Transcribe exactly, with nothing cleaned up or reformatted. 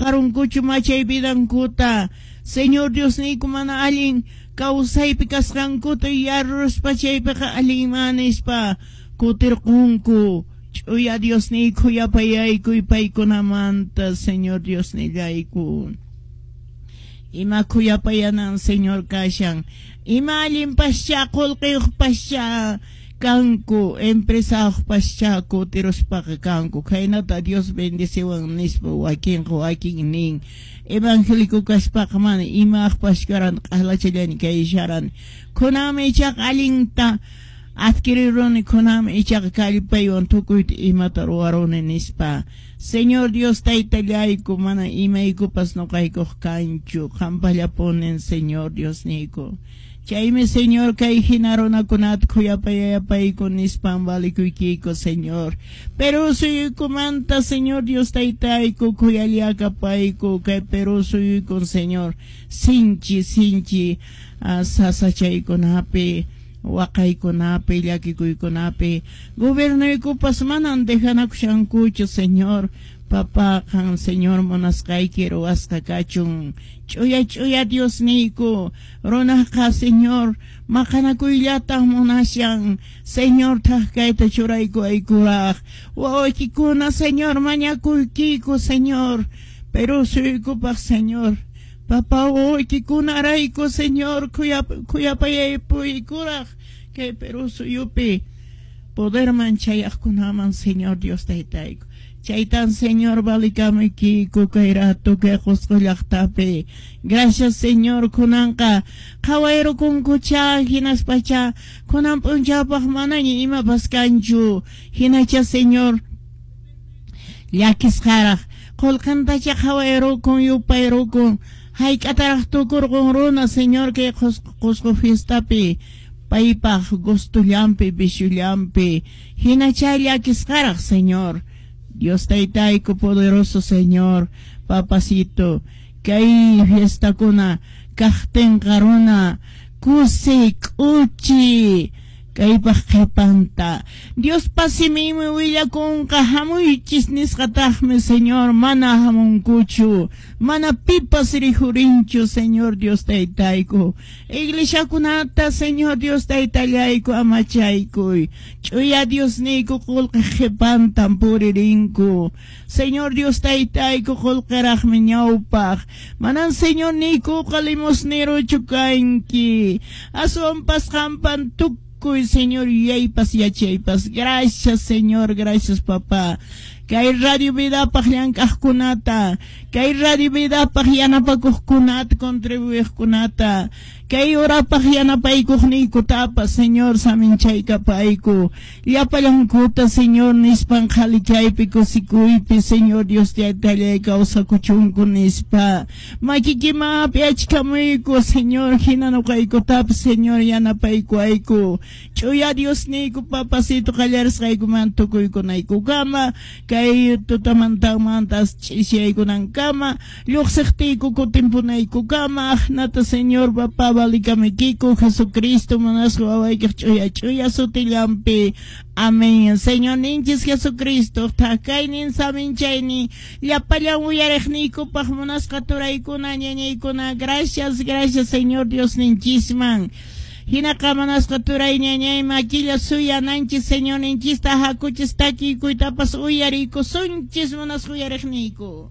qunqarunkuchu machay vidankuta. Señor Diosniyku, mana allin kawsaypi kasqankuta yaruspa chaypiqa allinman nispa kutirqunku. Ch'uya Diosniyku, khuyapayaykuy paykunamanta, Señor Diosnillayku. Ima khuyapayanan, Señor, kashan. Ima allinpascha, qullqiyuqpascha kanku, empresayuqpascha kutiruspaqa kanku. Khaynata Dios bendeciwan nispa wakinqa wakin nin. Evangélico kaspaqa mana imaqpas karan, q'alachallani kaysharan. Kunanmi ichaqa allinta adquiriruni, kunanmi ichaqa kallpaywan tukuyta imata ruwaruni nispa. Señor Dios Taytallayku, mana imaykupas nuqaykuq kanchu, qampallapunin, Señor Diosniyku. Chaymi, Señor, kay hina runakunata khuyapayayapayku nispan valikuykiku, Señor. Perú suyuykumanta, Señor Dios Taytayku, khuyallakapayku kay Perú suyuykun, Señor, sinchi sinchi uh, sasachaykunapi, waqaykunapi, llakikuykunapi. Gobiernoykupas manan dejanakushankuchu, Señor. Papá, qan, Señor, munasqayki ruwasqa kachun. Ch'uya ch'uya Diosniyku, runaqa, Señor, maqanakuyllatan munashan. Señor, thak kayta churaykuwaykuraq. Wawaykikuna, Señor, mañakuykiku, Señor. Perú suyuykupaq, Señor. Papá, wawaykikunarayku, Señor, khuyapayaypuykuraq kay Perú suyupi poderman chayaqkunaman, Señor Dios Taytayku. Chaytan, Señor, valikamuykiku kay rato kay Qusqu llaqtapi. Gracias, Señor, kunanqa qhawayrukunkucha, hinaspacha kunan p'unchawpaq manaña imapas kanchu. Hinacha, Señor, llakisqaraq qullqintacha qhawayrukun, yupayrukun. Hayk'ataraq tukurqun runa, Señor, kay Qusqu fiestapi paypaq gustullampi, viciollampi. Hinacha llakisqaraq, Señor. Dios Taytayku, poderoso Señor, papacito, kay fiestakuna kaqtinqa runa kusi k'uchi kaypaq qhipanta. Diospa siminmi willakunqa hamuychis nisqataqmi, Señor, mana hamunkuchu, mana pipas rijurinchu, Señor Dios Taytayku. Iglesiakunata, Señor Dios Taytallayku, amachaykuy. Ch'uya Diosniyku, qullqi qhipantan puririnku. Señor Dios Taytayku, qullqiraqmi ñawpaq. Manan, Señor niykuqa, limosnerochu kanki. Aswanpas qampan tukuy, Señor, yuyaypas yachaypas. Gracias, Señor, gracias, papá. Kay Radio Vidapaq llank'aqkunata, kay Radio Vidapaq yanapakuqkunata, contribuiqkunata, kay horapaq yanapaykuqniykutapas, Señor, saminchaykapayku. Llapallankuta, Señor, nispan qhalichaypi, kusikuypi, Señor Dios Taytallay, kawsakuchunku nispa. Makikimapi achkamuyku, Señor, hina nuqaykutapas, Señor, yanapaykuayku. Ch'uya Diosniyku, papacito, qallarisqaykuman tukuykunaykukama, kay tutamantamantas ch'isiyaykunankama, lluqsiqtiyku kutimpunaykukama, aqnata, Señor, papá, valikamuykiku Jesucristo munasqa wawaykiq ch'uya ch'uya sutillanpi. Amén. Señor ninchis Jesucristo, thakaynin, saminchaynin llapallan uyariqniykupaq, munasqa turaykuna, ñañaykuna. Gracias, gracias, Señor Dios ninchisman. Hinaqa, munasqa turay, ñañay, makilla suyananchis Señor ninchista, hakuchis takiykuytapas uyariykusunchis, munasqa uyariqniyku.